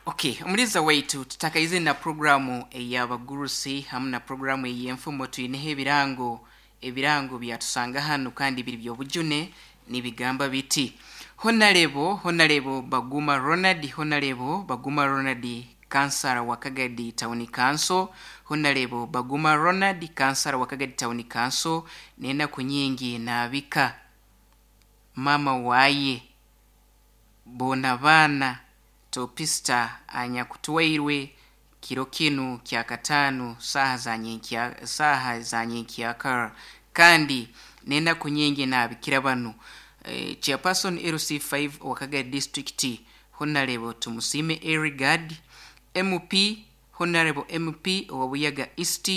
Okay, omuliza waitu tutakaize na programu ey'abagurusi hamu na programu ey'enfumo. Twineho ebirango, ebirango byatusanga hanu kandi biri by'obujune, nibigamba biti: Honarebo, Honarebo Baguma Ronald, Honarebo Baguma Ronald, kansara wa Kagadi Town Council, Honarebo Baguma Ronald, kansara wa Kagadi Town Council, n'enaku nyingi naabika mama waye boona baana Topista anyakutwairwe kiro kinu kya kataano saaha za nyenkya, saaha za nyenkyakara, kandi n'enaku nyingi naabikira banu chairperson LC5 owa Kagadi District, Honorable Tumusiime Erigard, MP, Honorable MP owa Buyaga East,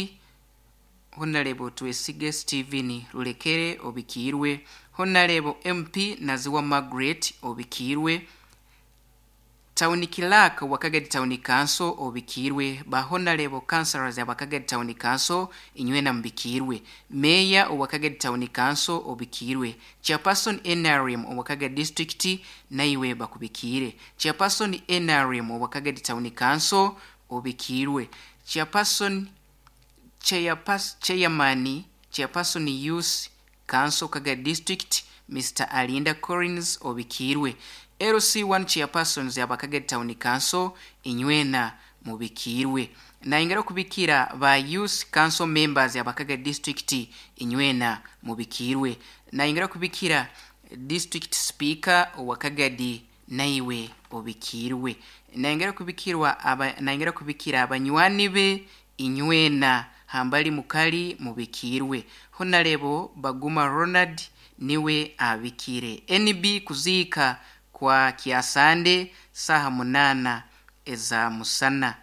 Honorable Twesige Stephen Rulekere obikiirwe, Honorable MP Naziwa Margaret obikiirwe, Town Clerk wa Kagadi Town Council obikiirwe, ba Honorable Councillors aba Kagadi Town Council inywena mubikiirwe, Mayor owa Kagadi Town Council obikiirwe, Chairperson NRM owa Kagadi District naiwe bakubikiire, Chairperson NRM owa Kagadi Town Council obikiirwe, Chairperson Chairman, Chairperson Youth Council Kagadi District, Mr Alinda Collins obikiirwe, LC1 Chairpersons aba Kagadi Town Council inywena mubikiirwe, nayongera okubikira ba Youth Council members aba Kagadi District inywena mubikiirwe, nayongera okubikira District Speaker owa Kagadi naiwe obikiirwe, nayongera kubikirwa aba, nayongera kubikira abanywani be inywena hambali mukali mubikiirwe. Honarebo Baguma Ronald niwe abikire. NB kuziika kwa Kyasande saaha 8 eza musana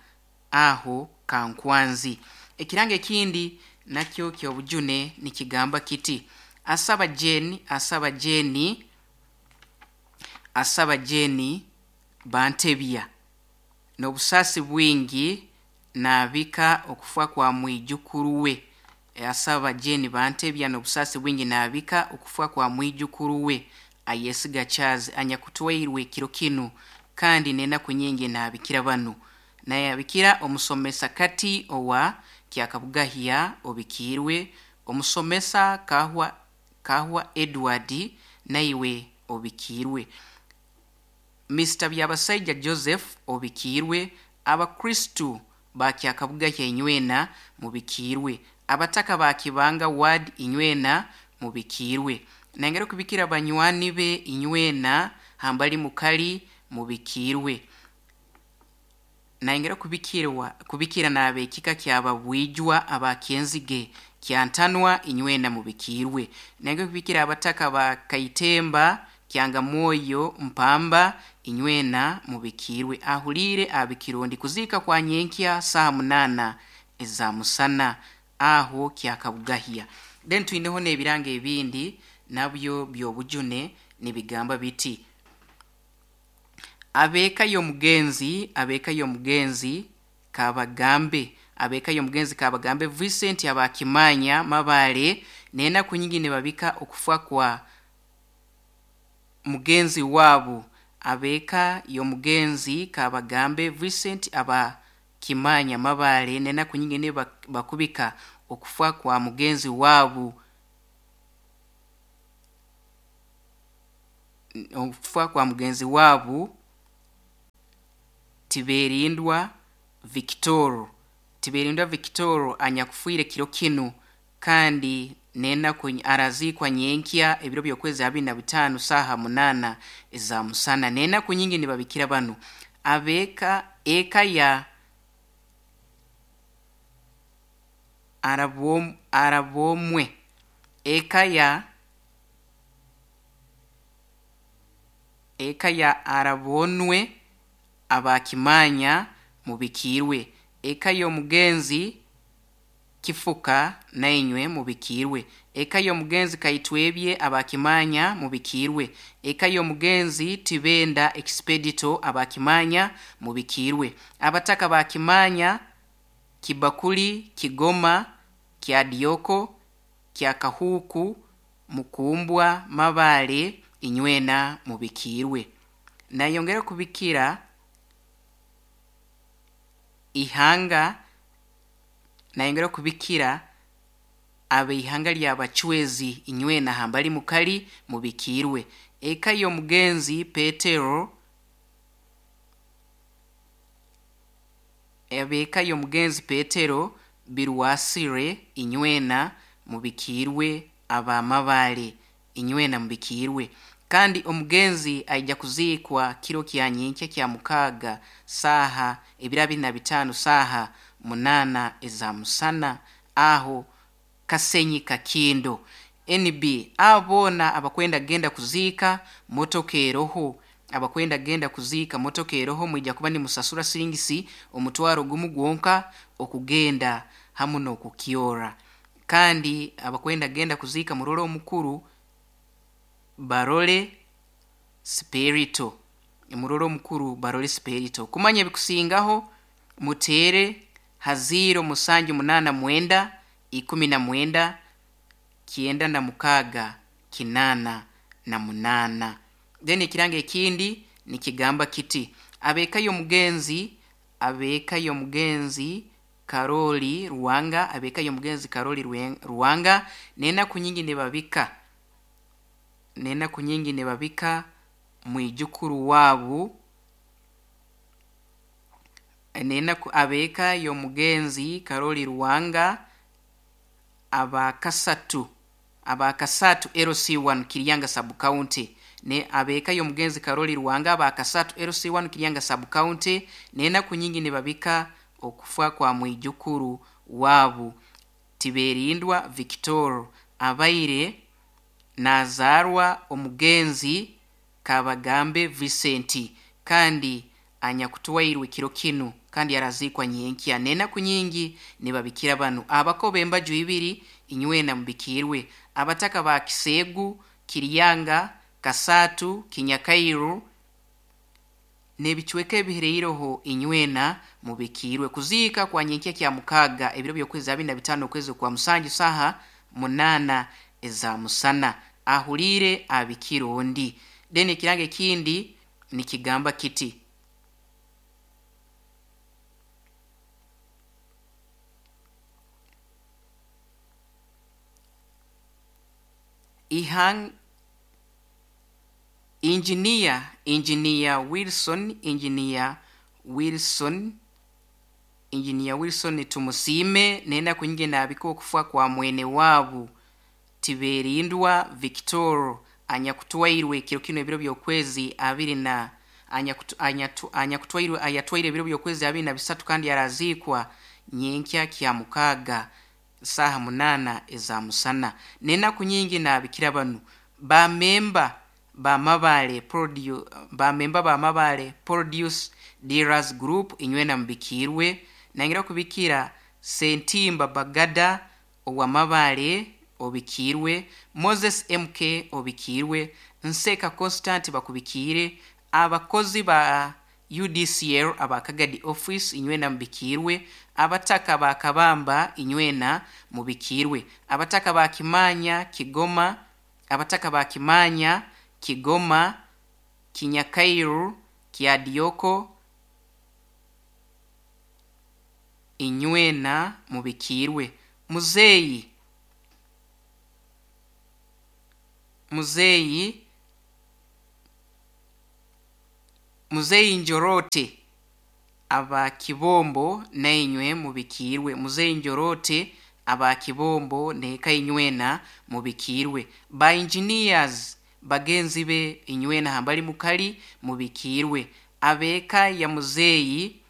aho Kankwanzi. Ekirango ekindi nakyo ky'obujune nikigamba kiti: asaba Jane, asaba Jane, asaba Jane Bantebya n'obusaasi bwingi naabika okufa kwa mwijukuru we. Asaba Jane Bantebya n'obusaasi bwingi naabika okufa kwa mwijukuru we Ayesiga Charles anyakutwairwe kiro kinu, kandi n'enaku nyingi naabikira banu. Nayabikira omusomesa kati owa Kyakabugahya obikiirwe, omusomesa Kahwa, Kahwa Edward naiwe obikiirwe, Mr Byabasaija Joseph obikiirwe, Abakristu ba Kyakabugahya inywena mubikiirwe, abataka ba Kibanga Ward inywena mubikiirwe, nayongera okubikira banywani be inywena hambali mukali mubikiirwe, nayongera kubikirwa kubikira n'ab'ekika kyababwijwa aba Kyenzige Kyantanwa inywena mubikiirwe, nayongera kubikira abataka ba Kaitemba Kyangamwoyo Mpamba inywena mubikiirwe. Ahuliire abikirondi kuziika kwa nyenkya saaha 8 eza musana aho Kyakabugahya. Then twineho n'ebirango ebindi nabyo by'obujune nibigamba biti: abeeka y'omugenzi, abeeka y'omugenzi Kabagambe, abeeka y'omugenzi Kabagambe Vincent abakimanya Mabale n'enaku nyingi nibabika okufa kwa mugenzi waabo. Abeeka y'omugenzi Kabagambe Vincent abakimanya Mabale n'enaku nyingi bakubika okufa kwa mugenzi waabo, okufa kwa mugenzi waabo Tiberindwa Victoro, Tiberindwa Victoro anyakufiire kiro kinu, kandi n'enaku araziikwa nyenkya ebiro by'okwezi 25 saaha 8 eza musana. N'enaku nyingi nibabikira banu abeeka eka ya Arabomwe, eka ya, eka ya Arabonwe abakimanya mubikiirwe, eka y'omugenzi Kifuka nainywe mubikiirwe, eka y'omugenzi Kaitwebye abakimanya mubikiirwe, eka y'omugenzi Tibenda Expedito abakimanya mubikiirwe, abataka bakimanya Kibakuli Kigoma Kyadioko Kyakahuuku Mukumbwa Mabale inywena mubikiirwe. Nayongera kubikira Ihanga nayongera kubikira abeihanga lyabacwezi inywena hambali mukali mubikirwe. Eka y'omugenzi Petero, ab'eka y'omugenzi Petero Birwasire inywena mubikirwe, abamabale inywena mubikirwe. Kandi omugenzi aija kuziikwa kiro kya nyenkya kya mukaaga saaha ebiro 25 saaha 8 eza musana aho Kasenyi Kakindo. NB abo boona abakwenda kugenda kuziika motoka eroho, abakwenda kugenda kuziika motoka eroho, mwija kuba nimusasura siringisi 10,000 gwonka okugenda hamu n'okukyora. Kandi abakwenda kugenda kuziika murole omukuru Barole Spirito, murole omukuru Barole Spirito. Kumanya ebikusingaho muteere ha 0789 19 96 88. Then ekirango ekindi nikigamba kiti: ab'eka y'omugenzi, ab'eka y'omugenzi Karoli Ruwanga, ab'eka y'omugenzi Karoli Ruwanga n'enaku nyingi nibabika, n'enaku nyingi nibabika mwijukuru waabu, n'enaku ab'eka y'omugenzi Karoli Ruwanga abakasatu, abakasatu LC1 Kiryanga sub county, ne ab'eka y'omugenzi Karoli Ruwanga abakasatu LC1 Kiryanga sub county n'enaku nyingi nibabika okufa kwa mwijukuru waabu Tiberindwa Victor abaire nazaarwa omugenzi Kabagambe Vincent kandi anyakutwairwe kiro kinu kandi araziikwa nyenkya. N'enaku nyingi nibabikira banu abakoba embaju ibiri inywena mubikirwe, abataka ba Kiseegu, Kiryanga, Kasatu, Kinyakairu n'ebicweka ebihireireho inywena mubikirwe. Kuziika kwa nyenkya kya mukaaga ebiro by'okwezi 25 okwezi kwa musanju saaha 8 eza musana, ahuliire abikira ondi. Then ekirango ekindi nikigamba kiti: Ihang Engineer, Engineer Wilson, Engineer Wilson, Engineer Wilson Tumusiime n'enaku nyingi naabika okufa kwa mwene waabu Tiberindwa Victor anyakutwairwe kiro kinu ebiro by'okwezi abiri na anyakutwairwe ayatwaire ebiro by'okwezi 23 kandi araziikwa nyenkya kya mukaaga saaha 8 eza musana. N'enaku nyingi naabikira banu bamemba bamabale produce, bamemba bamabale produce dealers group inywena mubikirwe. Nangira kubikira Sentimba Bagada owamabale obikirwe, Moses MK obikirwe, Nseka Constant bakubikire, abakozi ba UDCL abakagadi office inywena mubikirwe, abataka ba Kabamba inywena mubikirwe, abataka ba Kimanya Kigoma, abataka ba Kimanya Kigoma, Kinyakairu, Kyadioko inywena mubikirwe. Muzeyi, Muzeyi, Muzeyi Njorote aba Kibombo nainywe mubikirwe. Muzeyi Njorote aba Kibombo neka inywena mubikirwe. Ba engineers bagenzi be inywena hambali mukali mubikirwe. Abeka ya Muzeyi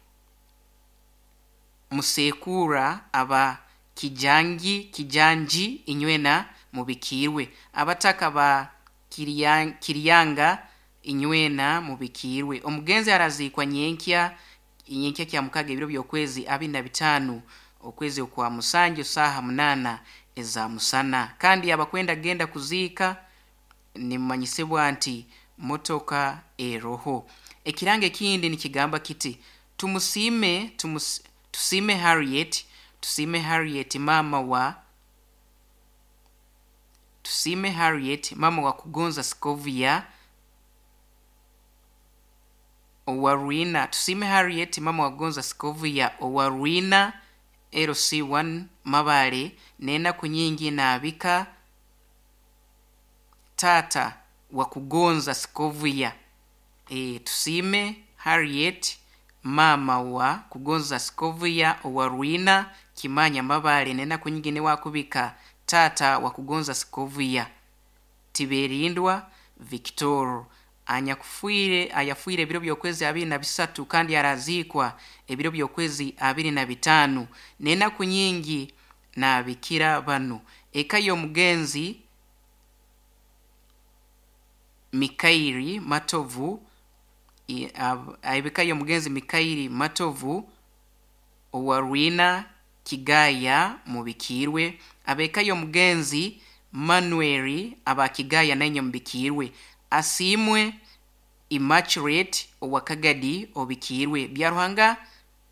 Musekura aba Kijangi, Kijanji inywena mubikirwe. Abataka ba Kiryanga inywena mubikirwe. Omugenzi araziikwa nyenkya, nyenkya kya mukaga ebiro by'okwezi 25 okwezi okwa musanju saaha 8 eza musana. Kandi abakwenda genda kuziika nimumanyisibwa nti motoka eroho. Ekirango ekindi nikigamba kiti: tumusiime, tusiime Harriet, tusiime Harriet mama wa, tusiime Harriet mama wa Kugonza Skovia. owa Rwina. Tusiime Harriet mama wa Kugonza Sikovia owa Rwina LC1 Mabale, n'enaku nyingi naabika taata wa Kugonza Sikovia. Tusiime Harriet mama wa Kugonza Sikovia owa Rwina Kimanya Mabale, n'enaku nyingi niwe akubika taata wa Kugonza Sikovia. Tiberindwa Victor anyakufiire ayafiire ebiro by'okwezi 23 kandi araziikwa ebiro by'okwezi 25, n'enaku nyingi naabikira banu. Eka y'omugenzi Mikairi Matovu, ebika y'omugenzi Mikairi Matovu owa Rwina Kigaya mubikiirwe. Ab'eka y'omugenzi Manuel aba Kigaya nainye mubikiirwe. Asiimwe Immaculate owa Kagadi obikiirwe. Byaruhanga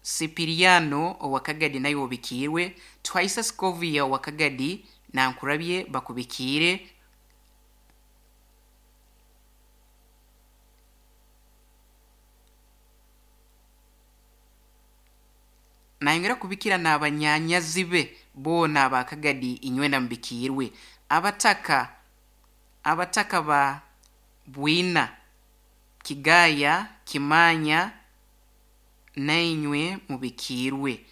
Sipiriano owa Kagadi naye obikiirwe. Tuhaisa Sikovia owa Kagadi nankurabye bakubikiire. Nayongera kubikira n'abanyanyazi be boona aba Kagadi inywena mubikiirwe. Abataka ba Bwina Kigaya Kimanya nainywe mubikiirwe.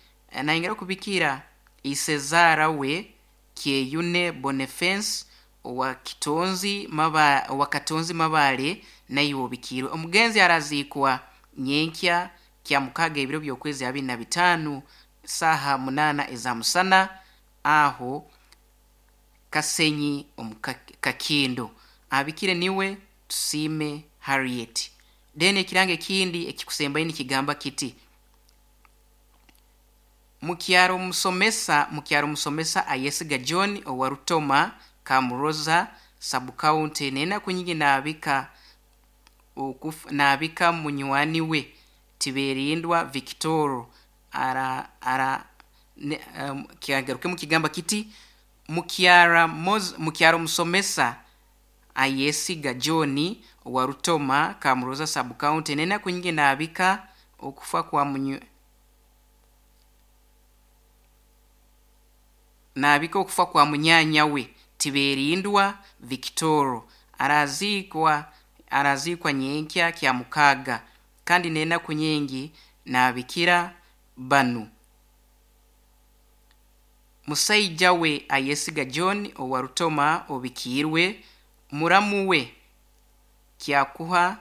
Nayongera kubikira isezaara we Kyeyune Boniface owa Kitonzi Maba, owa Katonzi Mabale naiwe obikiirwe. Omugenzi araziikwa nyenkya kya mukaga ebiro by'okwezi 25 saaha 8 eza musana aho Kasenyi omu Kakindo. Abikire niwe Tusiime Harriet. Then ekirango ekindi ekikusembayo nikigamba kiti: mukyaro musomesa ayesiga John owa Rutoma Kamuroza sub-county, n'enaku nyingi naabika munywani we Tiberindwa Victor ara ara ne, kigarukemu kigamba kiti: mukyaro musomesa ayesiga John owa Rutoma Kamuroza sub-county, n'enaku nyingi naabika okufa kwa naabika okufa kwa munyanya we Tiberindwa Victor. Araziikwa nyenkya kya mukaga, kandi n'enaku nyingi naabikira banu. Musaija we ayesiga John owa Rutoma obikiirwe. Muramu we Kyakuha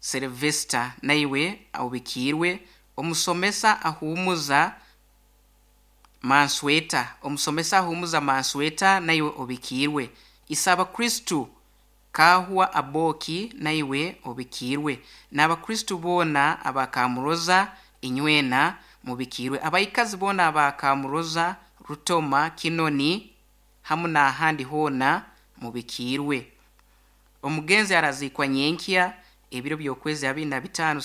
Sylvester naiwe obikiirwe. Omusomesa ahumuza Mansweta, omusomesa ahumuza Mansweta naiwe obikiirwe. Isaba Kristu Kahwa Aboki naiwe obikiirwe. N'abakristu boona aba Kamuroza inywena mubikiirwe. Abaikazi boona aba Kamuroza, Rutoma, Kinoni hamu n'ahandi hoona mubikiirwe. Omugenzi araziikwa nyenkya ebiro by'okwezi 25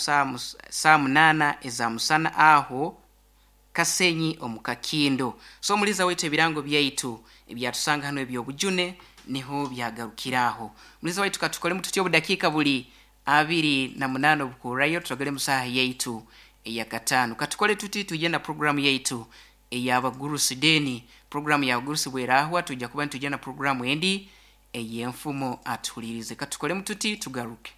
saa 8 eza musana aho Kasenyi omu Kakindo. So omuliza waitu, ebirango byaitu ebyatusanga hano ebyobujune niho byagarukiraho. Muliza waitu, katukolemu tutyo, obudakiika buli 28 obukurayo tutogere mu saaha yaitu eyakataano. Katukole tuti, tujye na programu yaitu ey'abagurusi. Deni programu y'abagurusi bwerahwa tujja kuba nitujja na programu endi ey'enfumo. Atuhulirize, katukolemu tuti, tugaruke.